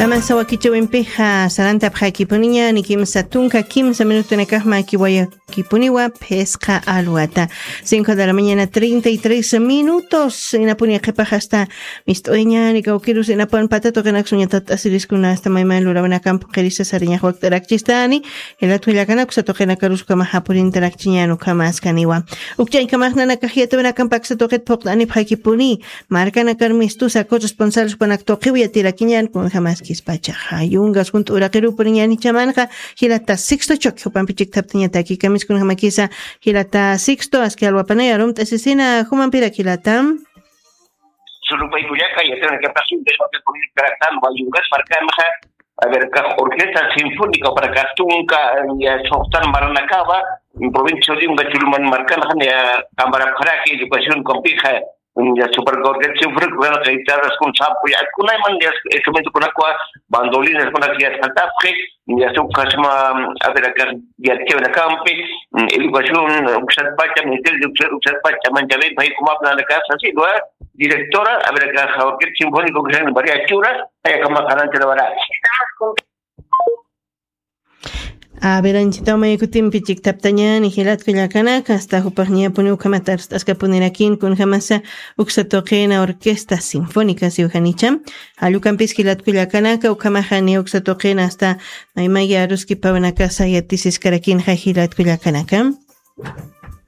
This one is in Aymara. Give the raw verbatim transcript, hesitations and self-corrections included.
Amasa wakichawimpixa sarantapxakipuniña ni kimsa tunka kimsa minutunakaxma kiwayakipuniwa phisqa alwata. Cinco de la mañana, treinta y tres minutos. Inapuni qhipax asta mist'uñani kawkirus inapan patatuqinakusuñatat asiriskuna asta mayman lurawinakampu qirisa sariñax wakt'arakchistani. Jilatkullakanakusa tuqinakarus ukhamaxa purintarakchiñan ukhamaskaniwa. Ukchaykamaxnanakax yatawinakampa aksa tuqit phuqt'anipxakipuni. Markanakar mistusa kuchus punsalspanak tuqiw yatirakiñan kunjamaskispachaxa yungas junt'u uraqirupuriñanichamanxa. Jilata sixto chuk jupampi chiktaptañataki kamiskunjamakisa. Jilata sixto aski alwapanay arumt'asisina jumampirak jilata. Surupaykullaka yatawinakapaqsin deswaka kuñirkaraktan wayungas markanxa. A ver, kax orquesta sinfónica para kastunka ya soxtan maranakaba provincia de unga chuluman markanxa ya kambarapxaraki educación kampixa. Ya supercorrección frikuna guitarras kun sapo ya kunayman ya instrumento kunakwa bandolinas kunak ya saltapxi. Ya suk kasma a ver acá ya chévere campe educación uksat pacha ministerio uksat pacha manchabe pai como hablan acá así lo directora a ver acá orquesta sinfónica que se llama María Chura. Aya kama karanti la vara. Aberanchitaw maykutimpi chiktaptañani jilatkullakanaka asta jupaqñapuni ukhamat arst'askapunirakin kunjamasa uksa tuqina orquesta sinfónica siwjanicha. Allukampis jilatkullakanaka ukhamaxani uksa tuqina asta maymaya aruskipawnakasa yatisiskarakinxa jilatkullakanaka.